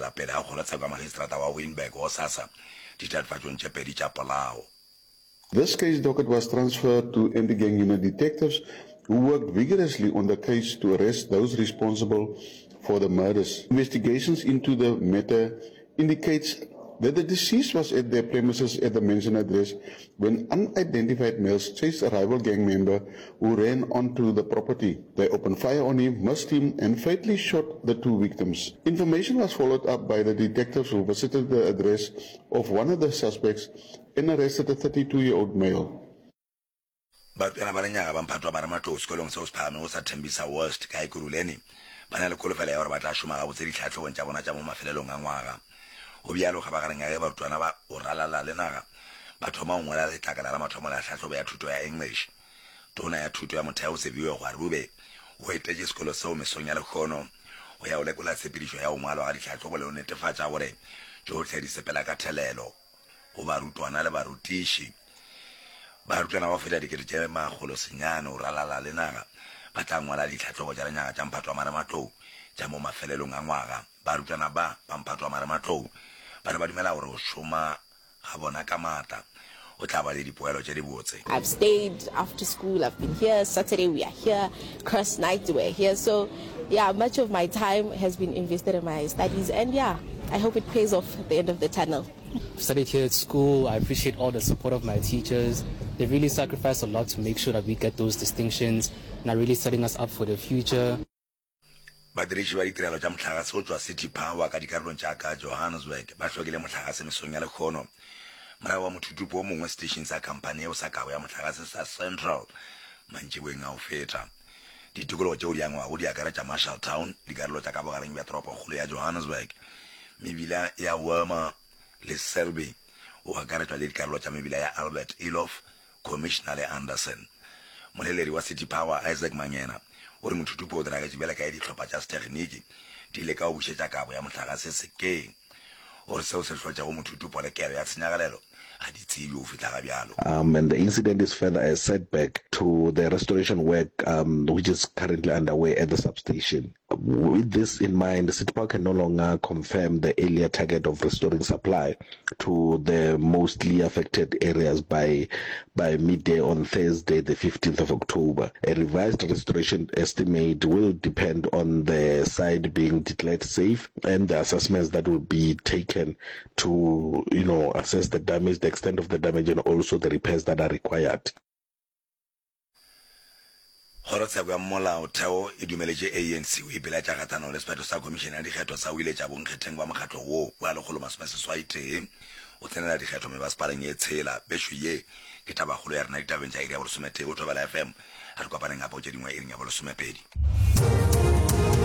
tšwelela pele ga kgorotsheko ya magistrata wa Wynberg gosasa ditatofatšong tše pedi tša polao. This case docket was transferred to anti-gang unit detectives who worked vigorously on the case to arrest those responsible for the murders. Investigations into the matter indicates that the deceased was at their premises at the mentioned address when unidentified males chased a rival gang member who ran onto the property. They opened fire on him, missed him, and fatally shot the two victims. Information was followed up by the detectives who visited the address of one of the suspects and arrested a 32-year-old male. Barutwana ba lenyaga ba mphato wa marematlou sekolong seo se phagamego sa Tembisa West ka Ekurhuleni ba na le kholofelo ya gore ba tla šoma gabotse ditlhahlobong tša bona tša mo mafelelong a ngwaga. Go bjalo kgabagareng ya ge barutwana ba go ralala le naga ba thoma go ngwala letlakala la mathomo la tlhahlobo ya thuto ya English. Tona ya Thuto ya Motheo Siviwe Gwarube o etetše sekolo seo mesong ya lehono go ya go lekola tshepedišo ya go ngwalwa ga ditlhahlobo le go netefatša gore tšohle di sepela ka thelelo go barutwana le barutiši. Barutwana ba go feta 900,000 go ralala le naga ba tla ngwala ditlhahlobo tša lenyaga tša mphato wa marematlou tša mo mafelelong a ngwaga. Barutwana ba ba mphato wa marematlou ba re ba dumela gore go šoma ga bona ka maatla go tla ba le dipoelo tše dibotse. I've stayed after school, I've been here, Saturday we are here, cross night we're here, so yeah, much of my time has been invested in my studies and yeah, I hope it pays off at the end of the tunnel. Studied here at school, I appreciate all the support of my teachers, they really sacrifice a lot to make sure that we get those distinctions and are really setting us up for the future. Badiriši ba ditirelo tša mohlagase go tšwa City Power ka dikarolong tša ka Johannesburg ba hlokile mohlagase mesong ya lehono morago ga mothutupo o mongwe seteišing sa khamphani yeo sa kabo ya mohlagase sa Central mantšiboeng a go feta. Ditikologo tšeo di angwago di akaretša Marshalltown, dikarolo tša ka bogareng bja toropokgolo ya Johannesburg, mebila ya Wormer le Selby, go akaretšwa le dikarolo tša mebila ya Albert Eloff, Commissioner le Anderson. Moleledi wa City Power, Isaac Mangena, o re mothutupo o diragetše bjale ka ge dihlopha tša sethekgniki di leka go bušetša kabo ya mohlagase sekeng. O re seo se hlotšego mothutupo le kelo ya tshenyagalelo ga di tsebje go fihla ga bjalo. Um and the incident is further a setback to the restoration work um which is currently underway at the substation. With this in mind, City Power can no longer confirm the earlier target of restoring supply to the mostly affected areas by by midday on Thursday, the 15th of October. A revised restoration estimate will depend on the site being declared safe and the assessments that will be taken to, you know, assess the damage, the extent of the damage and also the repairs that are required. Kgorotsheko ya Molaotheo e dumeletše ANC go ipilaetša kgahlanong le sephetho sa Khomišene ya Dikgetho sa go iletša bonkgetheng ba mokgatlo wo wa 181 go tsenela dikgetho mebasepaleng ye tshela. Bešo ye ke tabakgolo ya rena ditabeng tša iri ya bolesometee go Thobela FM. A re kopaneng gape go tše dingwe iring ya bolesomepedi.